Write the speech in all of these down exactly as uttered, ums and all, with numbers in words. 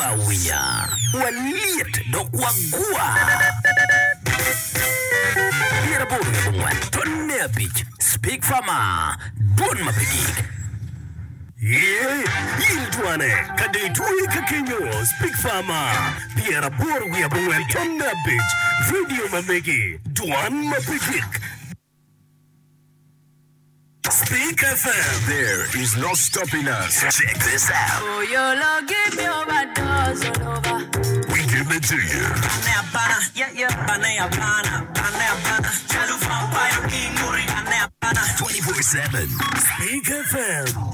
Winyo awinya, walyet dok wagwa. Pyeraboro wiye abongwen tonne abic Speak Farmer, dwon ma pe gik. Ye, in dwane ka dong itwe ka kenyo Speak Farmer, pyeraboro wiye abongwen tonne abic, Radio ma megi, dwan ma pe gik. Speak F M. There is no stopping us. Check this out. Oh, your love give me overdose all over. We give it to you. twenty-four seven. Speak F M.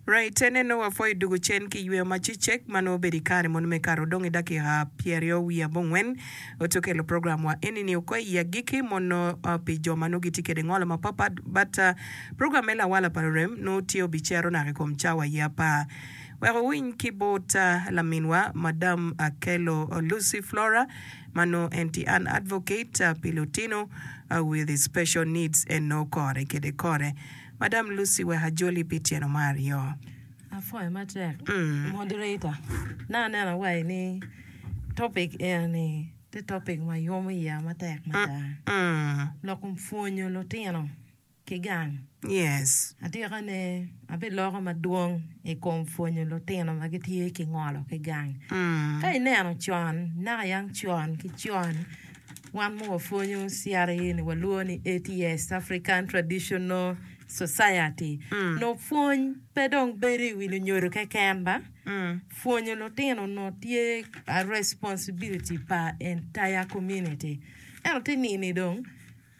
Right, ene nongo wapwoyo dugo cen ki yweyo ma cicek ma nongo obedo i kare mono me kato dong i dakika pyeraryo wiye abongwen oto kelo program wa enini oko i agikki mono uh, pi jo ma nongo gitye kede ngolo mapapat, but uh, program me lawala pa lurem nongo tye obicero naka i kom cawa ye apar wek owiny ki bot uh, laminwa Madam Akelo Lucy Flora ma nongo en tye an advocate uh, pi lutino uh, with special needs en nongo kore kede kore. Madam Lucy, wek ajoli pi tyeno mar aryo. Apwoyo matek, Mm. moderator. Na aneno awai ni topic eni tye topic ma yomo iya matek mada. Mm. Lok kom pwonyo lutino ki gang. Yes. Atika ne abiloko madwong i kom pwonyo lutino ma gitye ki ngolo ki gang. Mm. Ka ineno con, naka yang con ki con, wan ma wapwonyo C R A ni walwongo ni A T S, African Traditional Society. Mm. No pwony pe dong bedo i wi lunyodo keken ba. Mm. Pwonyo lutino no tye a responsibility pa entire community. Ento ti nini dong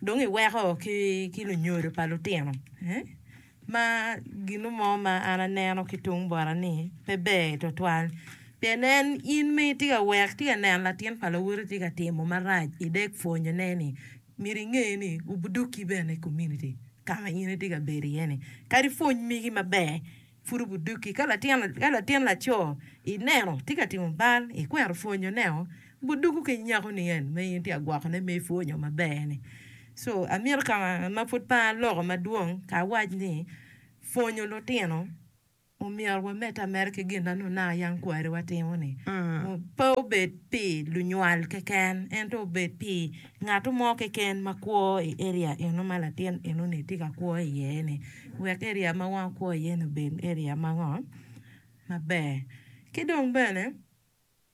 dong iweko ki, ki lunyodo pa lutino. Eh? Ma gino mo ma an aneno ki tung bota ni pe ber tutwal. Pien en in ma itye ka wek tye ka neno latin pa lawoti tye ka timo marac idek pwonyone ni myero inge ni obuduki bene i community kama in itye ka bedo iye ni kadi pwony migi maber pud obuduki. Ka latin ka latin laco ineno tye ka timo bal ikwero pwonyoneo buduku ki nyako ni en ma in itye ka gwokone me ipwonyo maber ni. So amito ka ma pud pe aloko madwong ka awac ni pwonyo lutino omyero wamedde ameda ki gin na nongo naka yang kwariwa timo ni Mm. pe obed pi lunywal keken ento obed pi ngat mo keken ma kwo i area eno ma latin eno-ni tye ka kwo iye ni wek area ma wan wakwo iye ni obed area ma ngo maber. Ki dong bene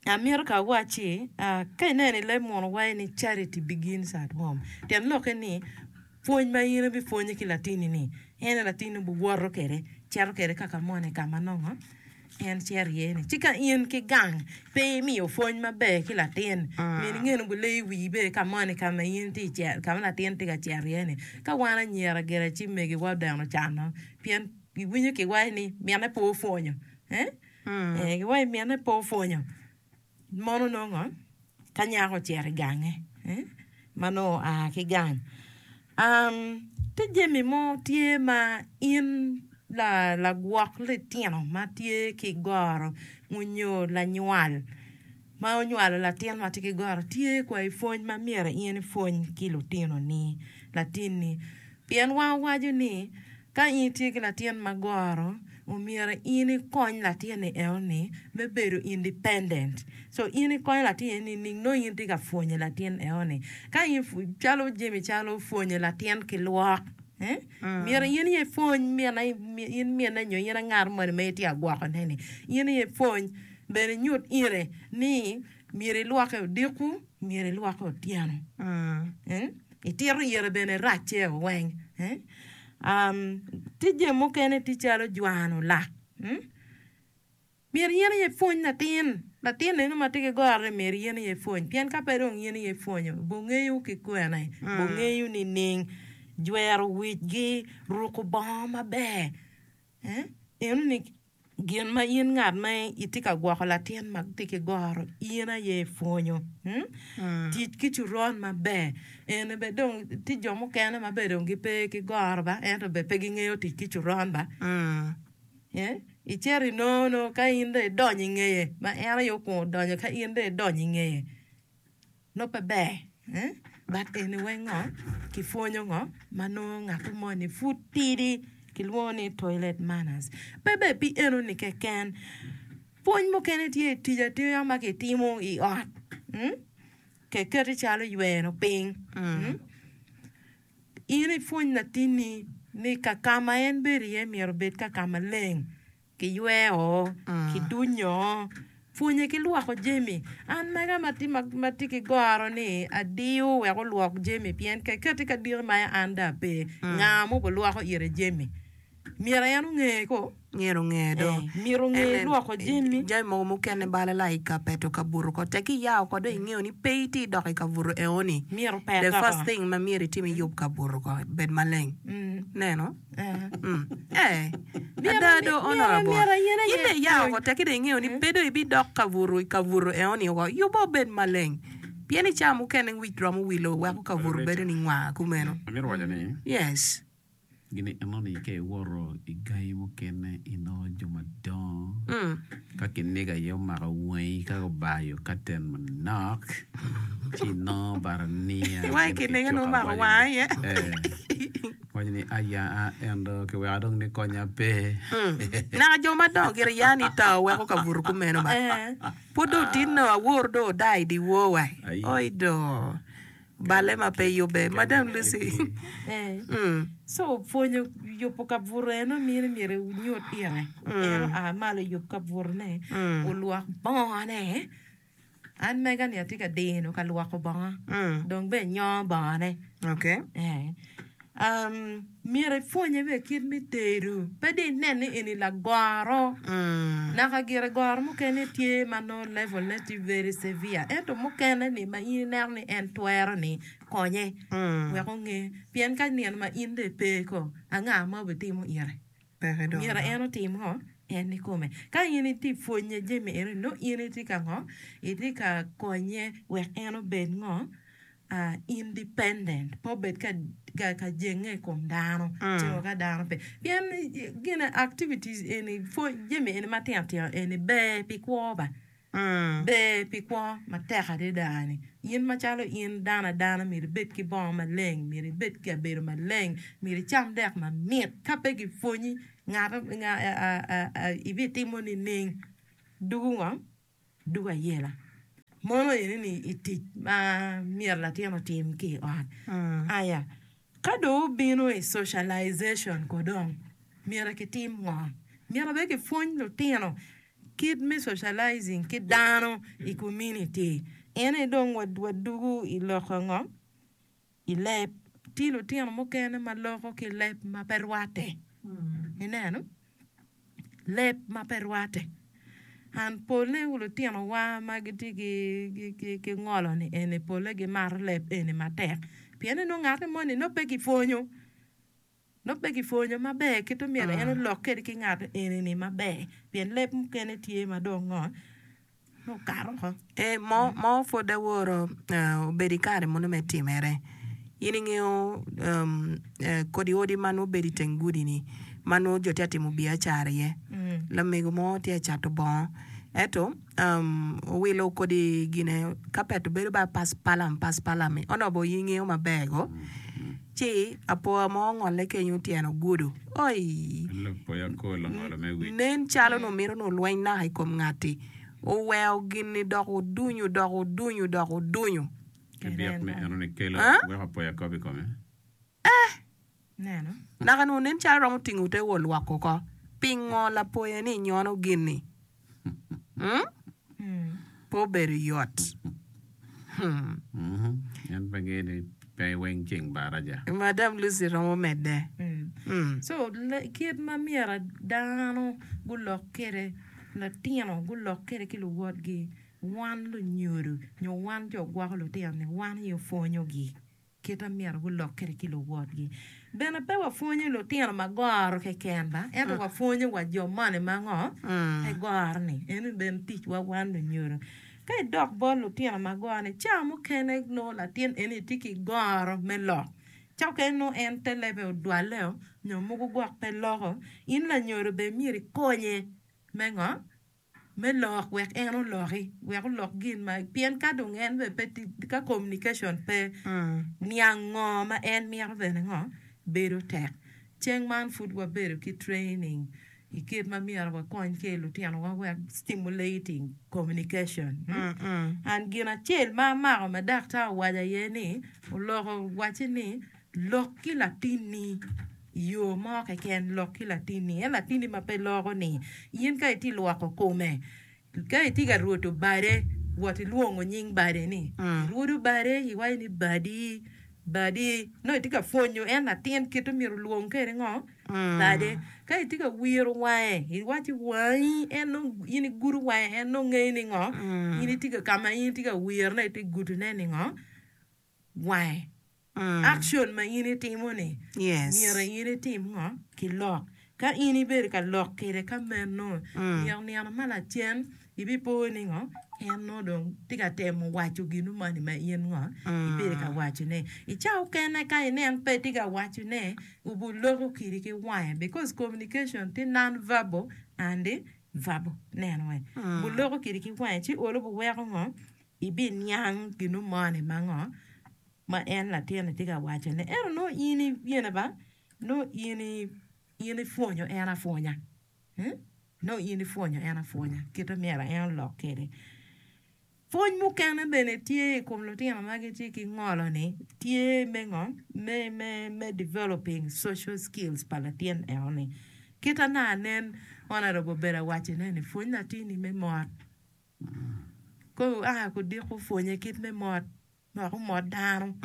amito ka awacci uh, ka ineno i leb muno waco ni charity begins at home. Tyen lokke ni pwony ma in ibipwonyo ki latini ni en latini obiwoto kede cito kede kaka moni kama nongo en cito iye ni ci ka in ki gang pe imiyo pwony maber ki latin myero inge ni obileyo wii bene ka moni kama in tye i kama latin tye ka cito iye ni. Ka wan anyira gire ci megiwa odeno cano pien iwinyo kiwaco ni mine pe opwonyo, eh? Mm. Eh, giwaco mine pe opwonyo mono nongo ka nyako ocito i gange, eh? Ma nongo oa ki gang um, tye jami mo tye ma in la lagwok litino ma tye ki goro onyo lanywal ma onywalo latin ma tye ki goro tye kwa i pwony ma myero in ipwony ki lutinoni latinni pien wan waco ni ka in itye ki latin ma goro omyero in ikony latin-ni enoni me bedo independent. So in ikonyo latin ni ning nongo in itye ka pwonyo latin enoni ka in calo jami calo pwonyo latin ki lwok, eh? Myero in iye ipwony mine in mine nyo in angat moni ma itye ka gwokone ni in iye ipwony bene inyut ire ni myero ilwoke odiko, myero ilwoke otyeno. Mm. Eh? Itito ire bene racce weng, eh? um, tye jami mukene tye calo jwano lak, mm? Myero in aye ipwony latin latin eno ma tye ki goro ni myero in aye ipwony pien ka pe dong in aye ipwonyo bongeyo ki kwene bongeyo nining jwero wicgi ruko bongo maber, eh? Eno ni gin ma in ngat ma itye ka gwoko latin ma tye ki goro in aye ipwonyo, mm? Mm. Tic ki coron maber eni be dong tye jo mukene ma be dong gipe ki goro ba ento be pe gingeyo tic ki coron ba. Mm. Eh? Icito inongo ka in dong idonyo i ngeye ma en aye okwongo donyo ka in dong idonyo i ngeye nongo pe ber, eh? But eni weng ngo kipwonyo ngo ma nongo ngat moni pud tidi kilwongo ni toilet manners. Pe be pi enoni keken. Pwony mukene tye i tic atima ma kitimo i ot. Mm? Keketi calo yweno piny. Mm? In ipwony latinni ni ka ka ma en bedo iye myero obed ka ka maleng. Kiyweo, kidunyo, pwonye ki lwoko jami. An mega ma tye ki goro ni adiyo wek olwok jami pien keketi ka diki ma an dong ape, nga ma obilwoko ire jami? Myero en onge ko. Myero onge do. Myero onge lwoko jami. Jami mogo mukene bala la i ka peto kabuto ko tek iya oko dong ingeyo ni pe itye dok i kabuto eoni. Myero opet The oko. first thing ma myero itim iyub kabuto ko bed maleng. Neno? Eh. Ada do honorable. In dong iya oko tek dong ingeyo ni pe dong ibidok kabuto i kabuto eoni oko. Yubbe obed maleng. Pien i cawa mukene wic romo wilo weko kabuto bedo ni ngwar kumeno. Amito waco ni. Yes. Gin enoni ka iwoto i gangi mukene inongo jo madongo ka kiniga aye omako wangi ka gubayo katen manok ci inongo barania Wai kiniga nongo omako wanga aye. Waco ni aya a ento kiweko dong ni konya pe. Naka jo madongo gire ya ni to weko kabuto kumeno ba. Pud dong otinno awor dong odaa i dyewor wa. Oi do. Balle ma pe yubbe. Madam Lucy. So pwonyo yubo kabuto eno mini myero inyut ire. En oa malo oyub kabutone, olwok bongone. An mega ni atye ka dino ka lwoko bongo, dong bene nyongo bongone. Okay. Um, myero ipwonye bene kit me tedo. Pe dong inen ni eni lagoro. Naka gire goro mukene tye ma nongo level ne tye very severe. Ento mukene ni ma in ineno ni en twero ni konye wek onge. Pien ka nino ma in dong ipe ko, anga ma obitimo ire? Peke dong. Myero en otim ngo? En ikome. Ka in itye pwonye jami eno nongo in itye ka ngo? Itye ka konye wek en obed ngo? Uh, independent, pe obed ka, ka, ka jenge i kom dano, ci wa ka dano pe. Pien gine activities eni, pwony jami eni matino tino eni ber pi kwo ba. Ber pi kwo matek adada ni. In macalo in dano adana myero ibed ki bongo maleng, myero ibed ki kabedo maleng, myero icam dek mamit. Ka pe gipwonyi, ngat, nga, a, a, ibitimo nining? Dugu ngo? Dugu ayela. Mono eni ni i tic ma myero latin otim ki i ot. Aya, ka dong obino i socialization ko dong, myero kitim ngo? Myero bene kipwony lutino kit me socializing ki dano i community. En aye dong wadugu i lok ngo? I leb. Tye lutino mukene ma loko ki leb ma pe rwatte. Ineno? Leb ma pe rwatte. An polle lutinowa ma gitye ki ngolo-ni eni polle gimato leb eni matek pien ni nongo ngat moni nongo pe gipwonyo nongo pe gipwonyo maber kit ma myero en olok kwede ki ngat eni-ni maber pien leb mukene tye ma dong ngo nongo okato oko. Eh, mo mo pud aworo obedo i kare mono me timere. In ingeyo um, kodi odi ma nongo bedo i teng gudi-ni ma nongo jo tye ka timo biacara iye. Lamego mo tye ka cato bongo ento um, owilo kodi gine kapet obedo ba paspalam paspalam-mi onongo in ingeyo maber go. Ci apoa mo ongolle kenyo tyene ogudo. Oi! Apoya kol ongolo me wic. Nen calo nongo mito ni olweny naka i kom ngatti. Oweko gin-ni dok odunyo dok odunyo dok odunyo. Ki byek me enoni kelo Ah? weko apoya kobo i kome. Neno. Naka nongo nen calo romo tingo te wa olwoko oko. Pingo lapoya ni inyono gin-ni? Hmm? Pe obedo yot. Hmm. Mhm. En pe ngeyo ni pe weng ceng baraja. Madam Lucy romo medde. Mm. So, le- kit ma myero dano gulok kwede, lutino gulok kwede ki luwotgi, wan lunyodo nyo wan jo gwoko lutino-ni, wan aye opwonyogi kit ma myero gulok kwede ki luwotgi. Bene pe wapwonyo lutino ma goro keken ba, ento wapwonyo wa jo moni ma ngo pe goro-ni. Eno bene ticwa wan lunyodo. Ka idok bot lutino ma goro-ni, ca mukene nongo latin eni tye ki goro me lok. Ca mukene nongo en te lebe odwaleo nyo mogo gwok pe loko. In lanyodo bene myero ikonye me ngo? Me lok wek en oloki, wek olok gin ma pien ka dong en bene pe tye ka communication pe, niang ngo ma en mito bene ngo bedo tek. Ceng man pud wabedo ki training I kit ma myero wakony ki lutinowa wek stimulating communication. And gin acel ma amako ma daktar owaco aye ni oloko wacce ni lok ki latinni i yo mo keken lok ki latinni en latinni ma pe loko ni in ka itye lwoko kome ka itye ka rwodo bade wot ilwongo nying bade ni irwodo bade iwaco ni badi badi nongo itye ka pwonyo en latin kit myero olwong kwede ngo bade ka itye ka wiro wange iwaci wangi en nongo in igudo wange en nongo ngeyo ni ngo in itye ka ka ma in itye ka wirone itye ka gudone ni ngo wange action ma in itimo ni Yes. myero in itim ngo ki lok ka in ibedo ka lok kwede ka meno nino nino ma lacen ibipo ni ngo en nongo dong tye ka temo waco gino moni ma in ngo ibedo ka wacone i cawa okene ka inen pe tye ka wacone obuloko kidi ki wange because communication tye non verbal and verbal neno we buloko kidi ki wange ci olo buweko ngo ibiniang gino moni ma ngo ma en latin tye ka wacone ento nongo in gine ba nongo in in ipwonyo en apwonya hmm? nongo in ipwonyo en apwonya kite myero en olok kwede pwony mukene bene tye i kom lutino ma gitye ki ngolo ni tye me ngo me me me developing social skills pa latin eno ni kita na nen honorable obedo awacone ni pwony latini me mot ko a kudiko pwonye kit me mot wek omot dano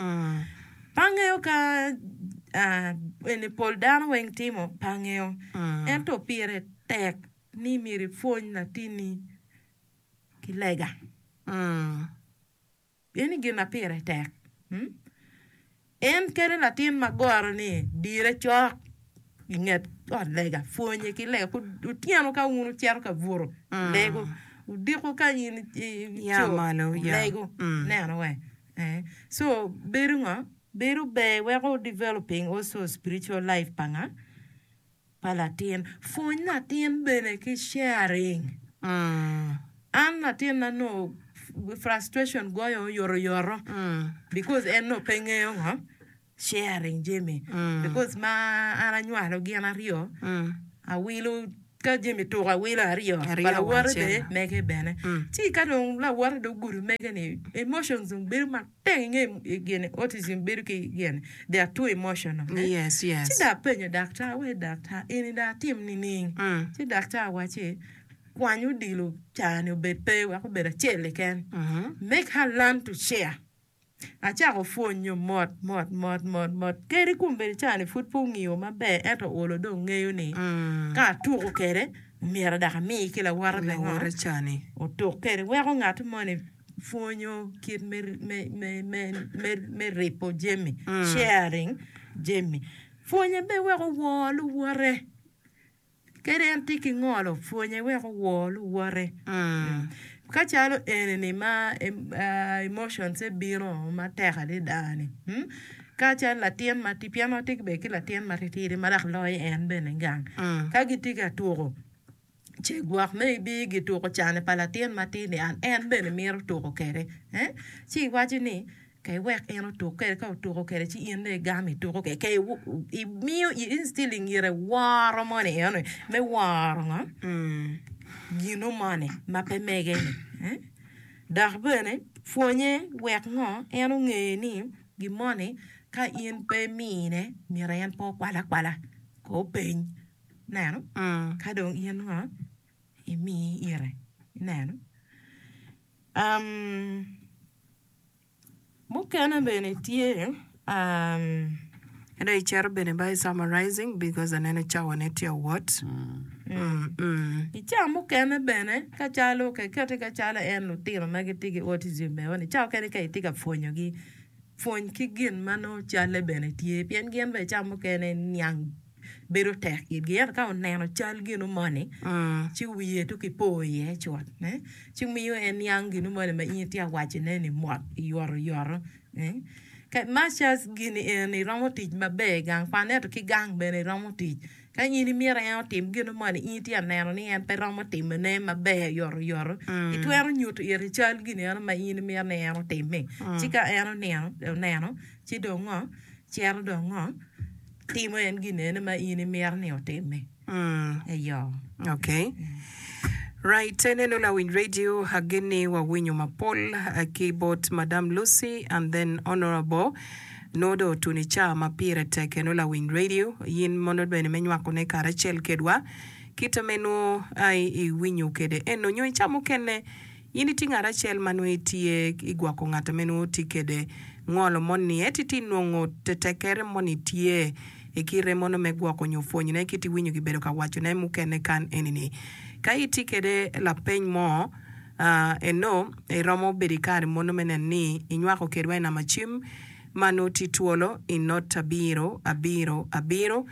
pe angeyo ka ah, eni pol dano weng timo pe angeyo ento pire tek ni myero ipwony latini ki lega eni gin ma pire tek hmm? En kede latin ma goro ni dire cok i nget ot lega pwonye ki lega otyeno ka wun wucito ka buto lego odiko ka in Ya ico malo, ya. lego neno we eh. So bedo ngo bedo ber weko developing also spiritual life pa nga pa latin pwony latin bene ki sharing an latin-na nongo frustration goyo oyotoyoto because en nongo pe ngeyo ngo sharing jami because ma an anywalo gin aryo awilo ka jami tuko awilo aryo pa lawote bene mege bene ci ka dong lawote dong ogudo mege ni emotions dong bedo matek inge gini autism bedo ki gini they are too emotional Yes, yes. ci dong apenyo daktar wai daktar eni dong atim nining ci daktar owacci kwany odilo cani obed pe wek obed acel keken make her learn to share acako pwonyo mot mot mot mot mot kadi kombeddi cani pud pe ongiyo maber ento olo dong ngeyo ni ka atuko kwede myero dok ami ki lawote me ngo Lawote cani. otuk kwede weko ngat moni pwonyo kit me, me, me, me, me, me ripo jami sharing jami pwonye be weko wor luwote kadi en tye ki ngolo pwonye weko wor luwote ka calo eni ma uh, emotions bino matek adada ni hmm? Ka calo latin ma tye pien watye bene ki latin matitidi ma dok loyo en bene gang ka gitye ka tuko ce gwok maybe gituko cane pa latin matidi an en bene mito tuko kwede eh? Ci iwaco ni ka iwek en otuk kwede ka otuko kwede ci in dong igamo ituko kwede ka imiyo i instilling ire woro moni eno me woro ngo gino moni ma pe mege ni eh? Dok bene pwonye wek ngo en onge ni gin moni ka in pe imine myero en pe okwal akwala ko openy neno ka dong in ngo imi ire ineno um, mukene bene tye um, Ento icito bene by summarizing because aneno cawa ne tye awot. Mm, mm. I cawa mukene bene ka calo kekete ka calo en lutino ma gitye ki autism eno ni cawa mukene ka itye ka pwonyogi pwony ki gin ma nongo calle bene tye pien gin bene cawa mukene niang bedo tek itgi ento ka oneno cal gino moni ci wiye tuk ipo iye cut eh? Ci miyo en niang gino moni ma in itye ka wacone ni mot oyotoyoto eh? Ka masters gini eni romo tic maber i gang kwan ento ki gang bene romo tic ka in imito en otim gino moni in itye ka neno ni en pe romo timone maber oyotoyoto itwero nyuto ite cal gini eno ma in imito ni en otimmi ci ka en onino oneno ci dong ngo cito dong ngo timo en gini eno ma in imito ni otimmi. Mm. Eyo. Okay. Right, eneno Lawiny Radio ageni wawinyo mapol eh, ki bot Madam Lucy and then Honorable Nodo otuni ca ma pire tek eno Lawiny Radio yin mono bene me nywakone karacel kedwa kite me nwo ai iwinyo kede eno nyo i ca mukene in itye ngat acel ma nongo itye igwoko ngat me nongo tye kede ngolo moni ento itye nongo tetekere moni tye i kite mono me gwoko nyo pwonyone kit iwinyo kibedo ka wacone mukene kan enini. Ka itye kede lapeny mo, ah, eno iromo bedo i kare mono me neno ni inywako kedwa i namba cim ma nongo tye twolo i not abiro abiro abiro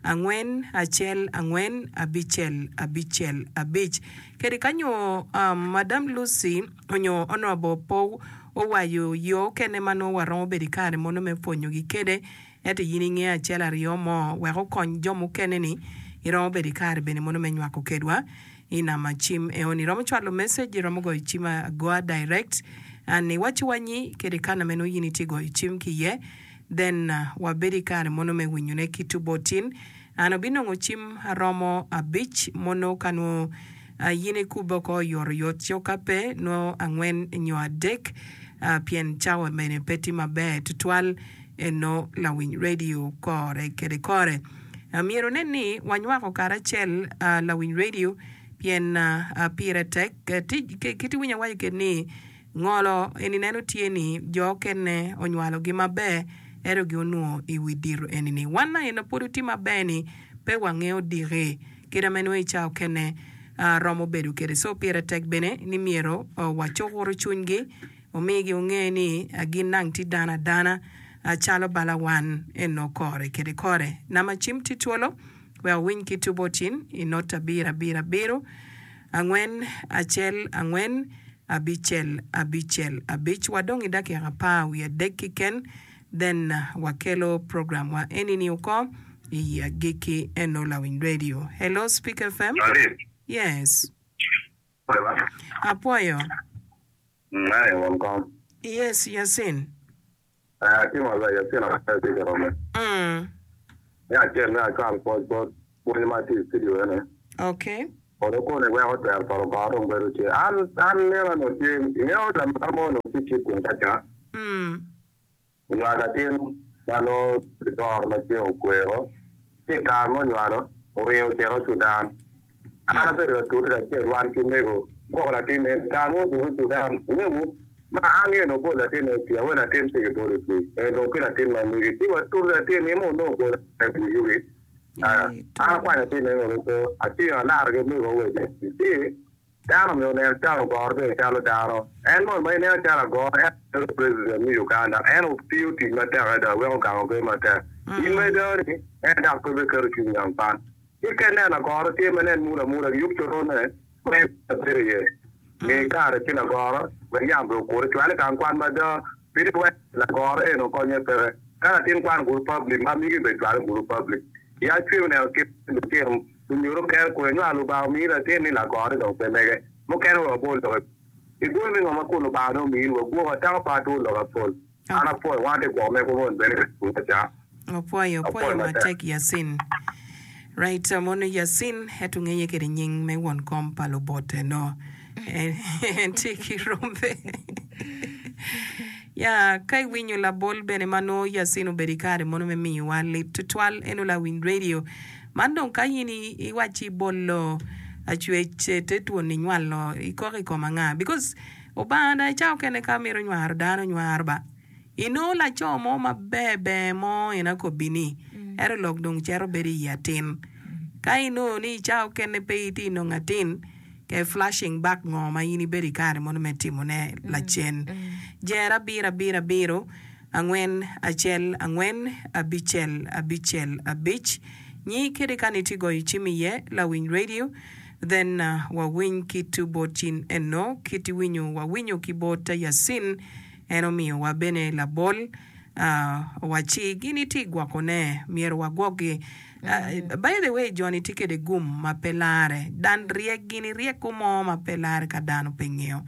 angwen acel angwen abicel abicel abic. Kede ka nyo um, Madam Lucy onyo Honorable po owaco yo okene ma nongo waromo bedo i kare mono me pwonyogi kede, ento in ingeyo acel aryo mo wek okony jo mukene-ni, iromo bedo i kare bene mono me nywako kedwa i namba cim eoni. Iromo cwalo message, iromo goyo cim agoa direct and iwacciwa nyi kede kana meno in itye goyo cim ki iye, then wabedo i kare mono me winyone ki tubotin. An abinongo cim aromo abic mono ka nongo in ikubbe oko oyotoyot, co ka pe nongo angwen nyo adek pien cawa bene pe tye maber tutwal eno lawiny radio kore kede kore. Myero nen ni wanywako karacel lawiny radio pien pire tek. Kit iwinyo awaco kede ni ngolo eni neno tye ni jo okene onywalogi maber ento gi onwongo i wi dito eni ni wan aye pwod otye maber ni pe wangeyo diki kite ma nongo i ca okene romo bedo kede. So pire tek bene ni myero wacukuru cwinygi omigi onge ni gin nang tye dano adana calo bala wan eno kore kede kore. Namba cim tye twolo wek owiny ki tubo tin i not abiro abiro abiro angwen acel angwen abicel abicel abic. Wadong i dakika apar wiye adek keken then wakelo program wa enini oko i agikki eno Lawiny Radio. Hello Speak F M. Sorry. Yes. Apwoyo. Aye, won kom. Yes, Yasin. Eh, atimo maber, Yasin apwoyo tye ka rome. Mm. Me acel me acwal pwoc bot pwony ma tye i studio ene. Okay. Kono koni weko twero pa Lubanga dong bedo tye. An, an neno onongo tye, ingeyo lamar mo onongo tye cik kun kaca. Mm. Onywalo latin ma nongo gitoro ma ceng okwero, ci i kare ma onywalo, oringo ocito Cudan. An abedo ka tute kacel wan ki mego gwoko latinne. I kare ma odwogo i Cudan, ingeyo ma an ngeyo ni obol latinne i pii, awe latin pe kibolo i pii, en dong ki latin ma megi. Ci watute latin-ni ma onongo obolo i yugi. An akwanyo latinne ni oluto, atingo alaro ki omego owece. Ci dano myero onen calo ogoro bene calo dano. En mono ma ineno calo agoro, en aye president me Uganda. En otiyo tic matek adada weko gang obedo matek. In ma idano-ni, en dok pe biketo cwiny i gang kwan. Ci ka ineno agoro tye ma nen mula mula, giyub corone ma en bedo iye. Mi kare ci lagoro wek yam bene okure. Cwale i gang kwan mada, pidi wek lagoro eno konye peke. Ka latin kwan guru public, ma migi bene cwale guru public. Ya cwiny oneno kit lutino Lunyodo kere kwe nyo Lubanga omiyi latin ni lagore dong pe mege. Mukene wek wabol lok i bwome me ngo ma kun Lubanga dong omiyi ni wagwoko atako pa atur lok apol. An apwoyo wan atye gwoko megwa moni bene ka cunga ca. Opwoyo, opwoyo Apwoyo matek. matek Yasin. Right, mono Yasin eto ngeye kede nying me won kom pa lubote no. En tye ki rombe. Ya, ka iwinyo labol bene ma nongo Yasin obedo i kare mono me miyowa lit tutwal eno lawiny radio. Man dong ka in iwacci ibolo acwec te twon inywalo ikok i kom anga? Because Obanga dong i cawa okene ka mito nywaro dano nywaro ba. Inongo laco mo maber ber mo en akobbi ni ento lok dong cito bedo i atin. Ka inongo ni i cawa okene pe itye inongo atin ke flashing back ngo ma in ibedo i kare mono me timone lacen. Jer abiro abiro abiro angwen acel angwen abicel abicel abic nyi kede ka ni tye goyo cim iye lawiny radio then wawiny ki tu bot cin eno kit iwinyo wawinyo ki bot Yasin en omiyo wa bene labol owacci gin itye gwoko ne myero wagwok gi by the way joni tye kede gum ma pe lare dan ryek gini ryeko mo ma pe lare ka dano pe ngeyo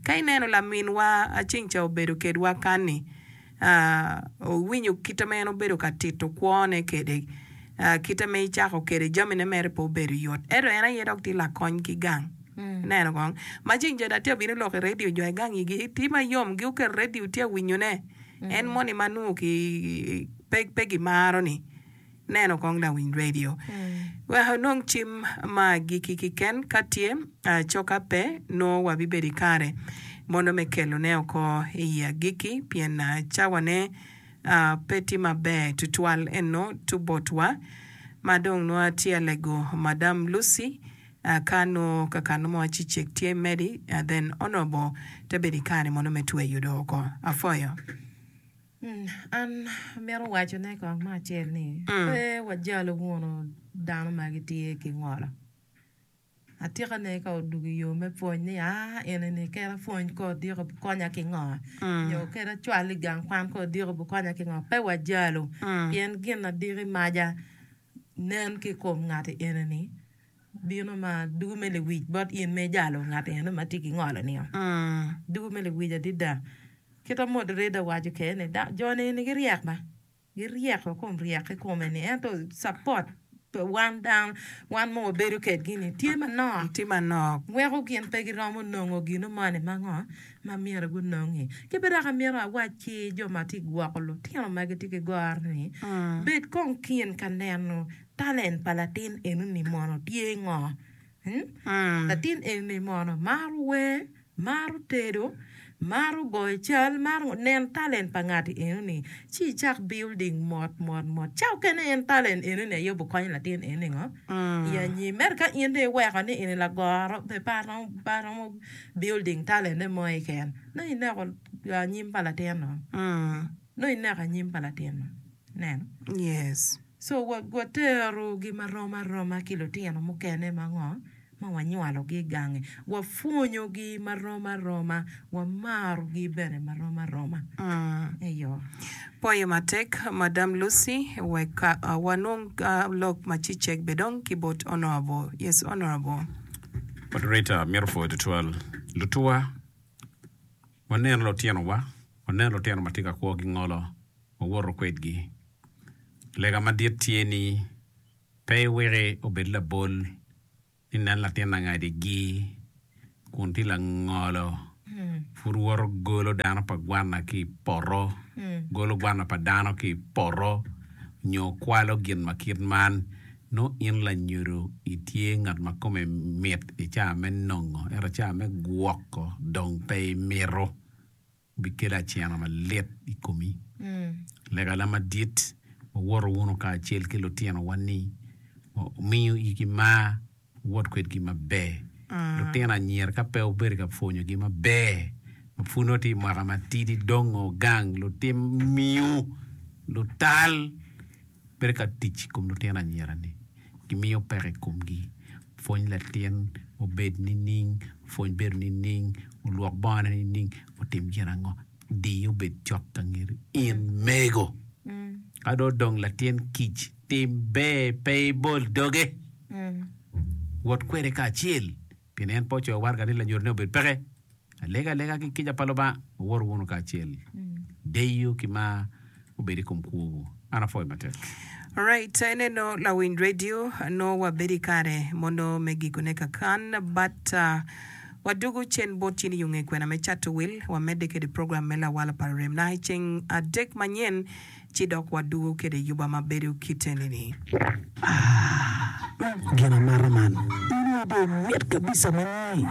ka ineno laminwa aceng ca obedo kedwa kani owinyo kite ma en obedo ka tito kwone kede uh, kite me icako kede jamine mere pe obedo yot ento en aye dok tye lakony ki gang ineno kong ma ceng jo atye abino lok i radio jo i gang igi tye mayom gi oketo radio tye awinyone en moni ma nongo ki pe, pe gimaro ni neno kong lawiny radio wek onong cim ma agikki keken ka tye uh, coka pe nongo wabibedo i kare mondo me kelone oko i agikki pien uh, cawane uh, pe tye maber tutwal eno tu botwa ma dong nongo atye alego Madam Lucy uh, ka nongo kakano mo acicek tye medi uh, then honorable te bedo i kare mondo me tweyo do oko afoyo Mm, an amito wacone kong me acel ni Mm. pe wajalo wunu dano ma gitye ki ngolo atikane ka odugo i yo me pwony ni aa eni kede apwony ko odiko konya ki ngo Mm. nyo kede acwal i gang kwan ko odiko konya ki ngo pe wajalo Mm. pien gin adiki maja nen ki i kom ngati eni bino ma dugo me lewic bot in me jalo ngat eni ma tye ki ngolo ni Mm. dugo me lewic adada kita moderator waco kede ni da- jo ni giryek ba giryeko kom ryek ki kome ni ento support pa wan dano wan ma wabedo kedgi ni tye manok tye manok weko gin pe giromo nongo gino moni ma ngo ma myero gunongi ki bene dok amyero awac ki jo ma tye gwoko lutino ma gitye ki goro ni Mm. bed kong kin ka neno talent pa latin enoni mono tye ngo Hmm? Mm. Latin eni mono maro wer maro tedo maro goyo cal maro nen talent pa ngati enoni ci icak building mot mot mot ca okene en talent enoni aye obikonyo latin eni ngo Mm. i anyim ento ka in dong iweko ni eni lagoro pe pe aromo pe aromo building talent ne mo keken nongo ineko anyim pa latin no Mm. nongo ineko anyim pa latin no ineno Yes. so wa- waterogi marom aroma ki lutino mukene ma ngo ma wanywalogi i gange wapwonyogi marom aroma wamarogi bene marom aroma Mm. eyo Poyo matek Madam Lucy wek uh, wanong uh, lok macicek bedong ki bot honorable. Yes, honorable. Moderator myero pwoyo tutwal lutuwa waneno lutinowa waneno lutino ma tye ka kwo ki ngolo wawoto kwedgi lega madit tye ni pe iweki obed labol ni nen latin angadigi kun tye langolo pud woto golo dano pa gwana ki i poto golo gwana pa dano ki i poto nyo kwalo gin ma kit man nongo in lanyodo itye ngat ma kome mit i caa me nongo ento caa me gwoko dong pe imito bikelo acena malit i komi legala madit wawoto wunu kacel ki lutinowa ni omiyo igi mar wot kwedgi maber lutino anyira ka pe obedo ka pwonyogi maber ma pud nongo tye i mwaka matidi dongo gang lutim miu lutal bedo ka tic i kom lutino anyira-ni gimiyo peko i komgi pwony latin obed nining pwony bedo nining olwok bongone nining otim gin ango diye obed cok ka ngeti in mego ka dong odong latin kic tim ber pe ibol doge wot kwede kacel pien en pe ocoyo waraga ni lanyodone obed peke alega alega ki kica pa Lubanga wawoto wunu kacel deyo ki mar obed i kom kwowu an apwoyo matek Alright, eneno lawiny radio no wabedo i kare mondo me gikone kakan but uh, wadugu cen bot cin yunge kwena me cato wil wamedde kede program me lawala pa rem na ceng adek manyen ci dok wadugu kede yuba mabedo kitenini. Gin amata man in ide mit kabisa mani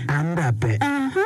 an da pe Aha,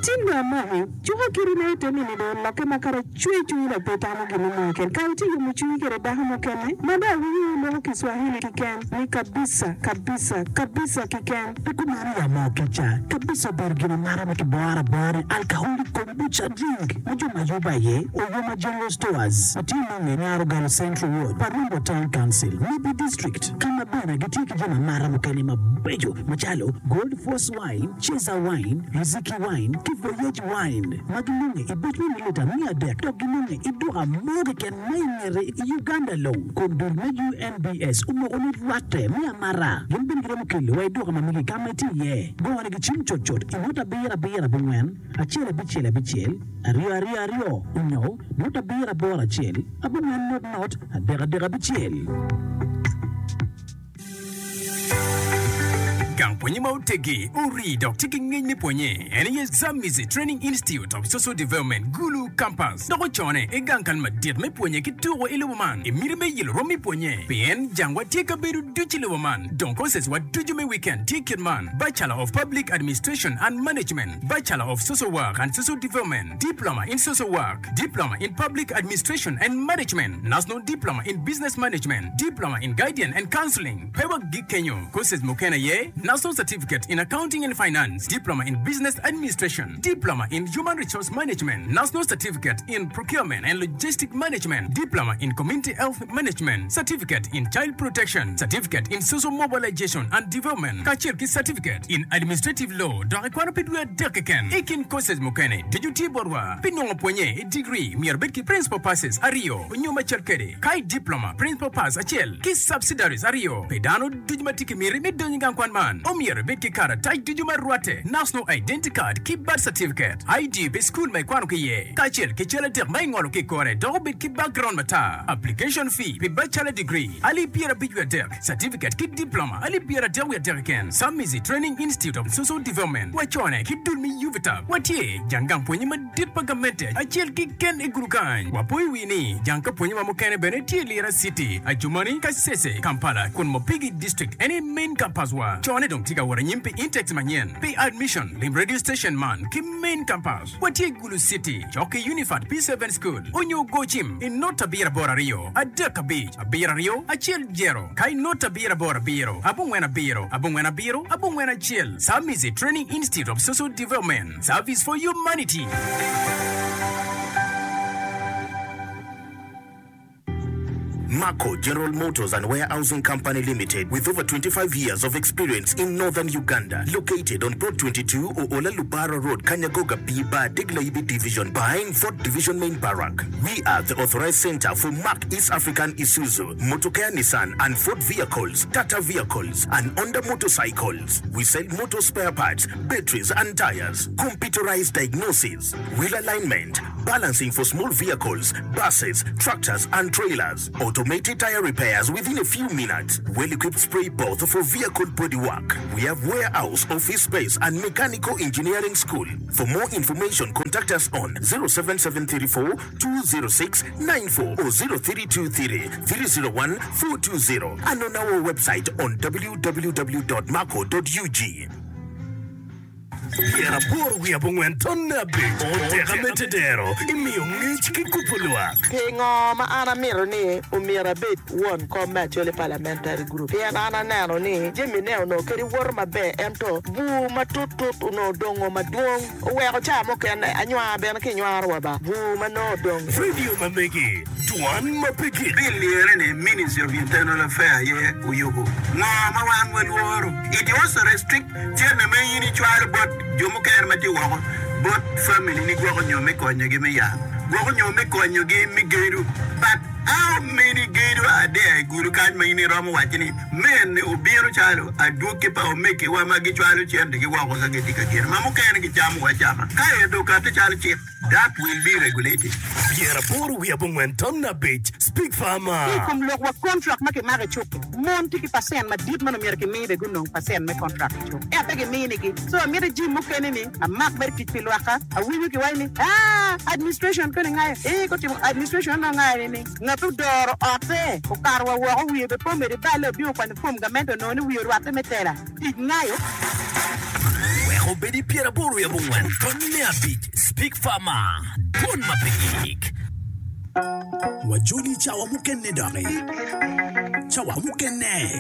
tin do amaki cuka kiri na ite nini do lokke ma kara cwe cwinyi dok pe tamo gin mo keken ka itye yomo cwinyi kede dako mukene ma do awinyo loko Kiswahili keken ni kabisa kabisa kabisa keken pe kumano ya mo kica kabisa obedo gin amata ma kiboro abora alcoholic kombucha drink ma jo ma yubo aye Oyoma General Stores ma tye nonge Nyaro Galo Central Ward Parumbo Town Council Nibi District ka ma bene gitye ki jami amata mukene mabeco macalo Gold Force Wine, Cheza Wine, Riziki Wine ki Voyage Wine ma ginonge i buc me mililita miya adek dok ginonge i duka mo keken ma i ngete i Uganda long kun dul me U N B S omoko ni rwatte me amata gin bene giromo kelo wa i duka ma megi ka ma itye iye gone gi cim cutcut i not abiro abiro abongwen acel abicel abicel aryo aryo aryo onyo not abiro aboro acel abongwen not not adek adek abicel. Gang pwonye ma otegi ori dok tye ki ngec me pwonye en aye Zamizi Training Institute of Social Development Gulu Campus dok ocone i gang kal madit me pwonye ki tuko i lobo man i miti me yelo rom me pwonye pien jangwa tye ka bedo ducu i lobo man dong courses wa ducu me weekend tye kit man Bachelor of Public Administration and Management, Bachelor of Social Work and Social Development, Diploma in Social Work, Diploma in Public Administration and Management, National Diploma in Business Management, Diploma in Guidance and Counseling. Pe wagik kenyo courses mukene aye National Certificate in Accounting and Finance, Diploma in Business Administration, Diploma in Human Resource Management, National Certificate in Procurement and Logistic Management, Diploma in Community Health Management, Certificate in Child Protection, Certificate in Social Mobilization and Development, kacel ki Certificate in Administrative Law dok ikwano pi dwe adek keken. I kin courses mukene ducu tye botwa pi nongo pwonye i degree myero bed ki principal passes aryo onyo macel kede ka i diploma principal pass acel ki subsidiaries aryo pi dano ducu ma tye ki miti me donyo i gang kwan man omyero ibed ki karatac ducu ma rwatte National Identity Card ki birth certificate I D pi skul ma ikwano ki iye kacel ki cal adek ma ingolo ki i kore dok obed ki background matar. Application fee pi bachelor degree alip pyerabic wiye adek, certificate ki diploma alip pyeradek wiye adek keken. Samizi Training Institute of Social Development wacone ki dul me UVTAB watye jang gang pwonye madit pa gamente acel keken i Gulu kany. Wapoyo wi ni jang ka pwonye wa mukene bene tye Lira City, Adjumani, Kasese, Kampala kun Mopigi District en aye main campus wa. Cone dong tye ka wot anyim pi intakes manyen pi admission lim radio station man ki main campus watye Gulu City cok ki Unifat P seven School onyo go cim i not abiro aboro aryo adek abic abiro aryo acel jero ka i not abiro aboro abiro abongwen abiro abongwen abiro abongwen acel. Samizi Training Institute of Social Development, Service for Humanity. Marco General Motors and Warehousing Company Limited, with over twenty-five years of experience in northern Uganda, located on Plot twenty-two, Oola Lubara Road, Kanyagoga B Bar, Diglaibi Division, behind Fort Division Main Barrack. We are the authorized center for Mark East African Isuzu, Motocare Nissan, and Ford vehicles, Tata vehicles, and Honda motorcycles. We sell motor spare parts, batteries, and tires, computerized diagnosis, wheel alignment, balancing for small vehicles, buses, tractors, and trailers, automated tire repairs within a few minutes, well-equipped spray booth for vehicle bodywork. We have warehouse, office space, and mechanical engineering school. For more information, contact us on zero seven seven three four two zero six nine four or zero three two three three zero one four two zero and on our website on w w w dot marco dot u g. Pyeraboro wiye abongwen tonne abic oteka me tedero imiyo ngec ki kubo lwak. Pingo ma an amito ni omyero abed won kom me Acholi Parliamentary Group pien an aneno ni jamine onongo kadi woto maber ento bur matutut onongo odongo madwong oweko ca mukene anywar bene kinywaro wa ba bur ma nongo odong. Radio ma megi dwan ma pe gik. Bill lire ni Ministry of Internal Affairs aye oyubo ngo ma wan walworo. It also restrict cene me in icwalo bot jo mukene ma tye woko bot family ni gwoko nyo me konyogi me yat gwoko nyo me konyogi me gedo, but how many gedo are there i Gulu kany ma in iromo waco ni men obino calo adwogi pa omegiwa ma gicwalo centegi woko ka gitye ka gedo ma mukene gicamo acama ka edo okate calo cik that will be regulated. Pyeraboro wiye abongwen tonne abic Speak Ki i Farmer. kom lok wa contract ma kimako i cuk mon tye ki percent madit man omyero kimi be gunong percent me contract i cuk ento pe giminigi so amito jim mukene ni amak mere tic pi lwakka awinyo kiwaco ni ah administration koni ngayo eh kotimo administration no ngayo ni ngat odoro otte okato wa woko wiye be po medo iballe obino kwanyo fom gamente onongo ni wiye orwatte me tela tic ngayo. Wek obedi pyeraboro wiye abongwen tonne abic Speak Farmer dwon ma pe gik. Wajoli cawa mukene doki. Cawa mukene.